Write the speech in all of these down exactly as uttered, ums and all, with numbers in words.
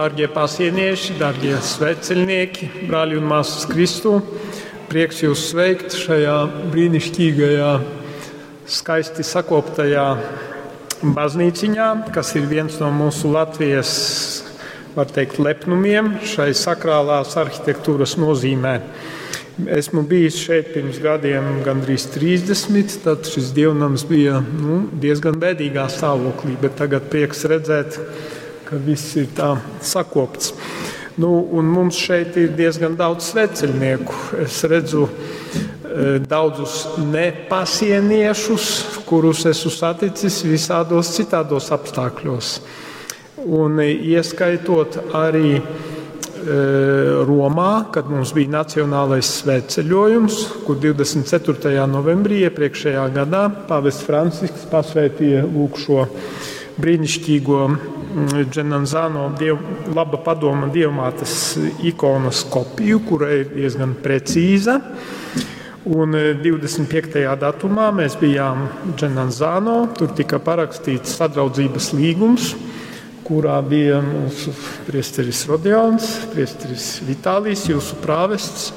Dārgie pasienieši, dārgie svētceļnieki, brāļi un māsas Kristū, prieks jūs sveikt šajā brīnišķīgajā, skaisti sakoptajā baznīciņā, kas ir viens no mūsu Latvijas, var teikt, lepnumiem šai sakrālās arhitektūras nozīmē. Esmu bijis šeit pirms gadiem gandrīz trīsdesmit, tad šis dievnams bija, nu, diezgan bēdīgā stāvoklī, bet tagad prieks redzēt, ka viss ir tā sakopts. Nu, un mums šeit ir diezgan daudz svētceļnieku. Es redzu, e, daudzus nepasieniešus, kurus esmu saticis visādos citādos apstākļos. Un ieskaitot arī, e, Romā, kad mums bija nacionālais svētceļojums, kur divdesmit ceturtajā novembrī iepriekšējā gadā pāvests Francisks pasvētīja lūk šo brīnišķīgo Dženanzano diev, laba padoma dievmātes ikonas kopiju, kura ir diezgan precīza. Un, e, divdesmit piektajā datumā mēs bijām Dženanzano, tur tika parakstīts sadraudzības līgums, kurā bija mūsu priesteris Rodions, priesteris Vitālijs, jūsu prāvests.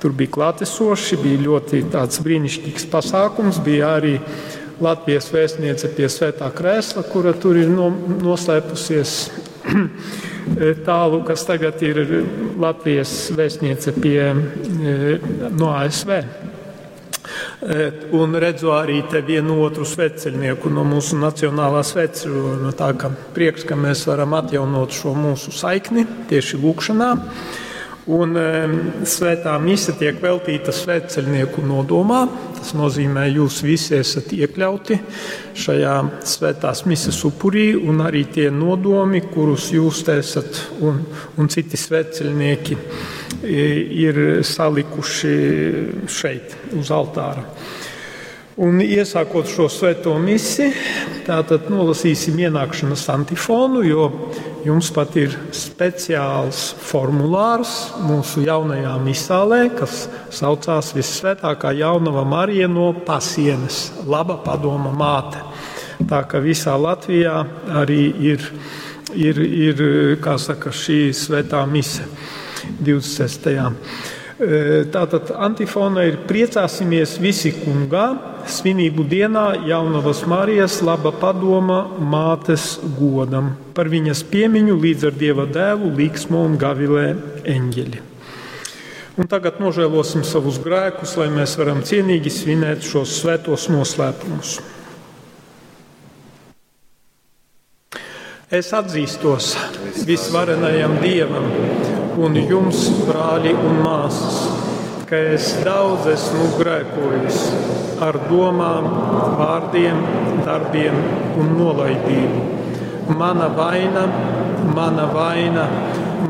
Tur bija klātesoši, bija ļoti tāds brīnišķīgs pasākums, bija arī Latvijas vēstniece pie Svētā krēsla, kura tur ir no-, noslēpusies tālu, kas tagad ir Latvijas vēstniece pie, e, no A S V. E, un redzu arī te vienu otru svētceļnieku no mūsu nacionālā svētceļojuma. Tā ka prieks, ka mēs varam atjaunot šo mūsu saikni tieši lūgšanā. Un, e, svētā mise tiek veltīta svētceļnieku nodomā. Tas nozīmē, jūs visi esat iekļauti šajā svētās mises upurī un arī tie nodomi, kurus jūs te esat un, un citi svētceļnieki ir salikuši šeit uz altāra. Un iesākot šo svēto misi, tātad nolasīsim ienākšanas antifonu, jo jums pat ir speciāls formulārs mūsu jaunajā misālē, kas saucās Vissvētākā Jaunava Marija no Pasienes, laba padoma māte. Tā ka visā Latvijā arī ir, ir, ir, kā saka, šī svētā mise divdesmit sestajā. E, tātad antifona ir Priecāsimies visi kungā, svinību dienā Jaunavas Marijas laba padoma mātes godam. Par viņas piemiņu līdz ar Dieva dēlu līksmo un gavilē eņģeļi. Un tagad nožēlosim savus grēkus, lai mēs varam cienīgi svinēt šos svētos noslēpumus. Es atzīstos visvarenajam Dievam un jums, brāļi un māsas, ka es daudz esmu grēkojis ar domām, vārdiem, darbiem un nolaidību. Mana vaina, mana vaina,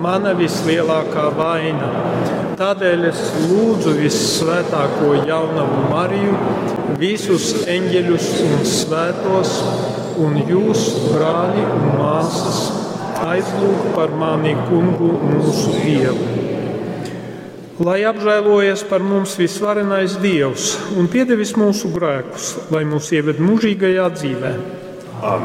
mana vislielākā vaina. Tādēļ es lūdzu vissvētāko jaunavu Mariju, visus eņģeļus un svētos, un jūs, brāļi un māsas, aizlūgt par mani kungu mūsu Dievu. Lai apžēlojas par mums visvarenais Dievs un piedevis mūsu grēkus, lai mūs ieved mūžīgajā dzīvē. Āmen.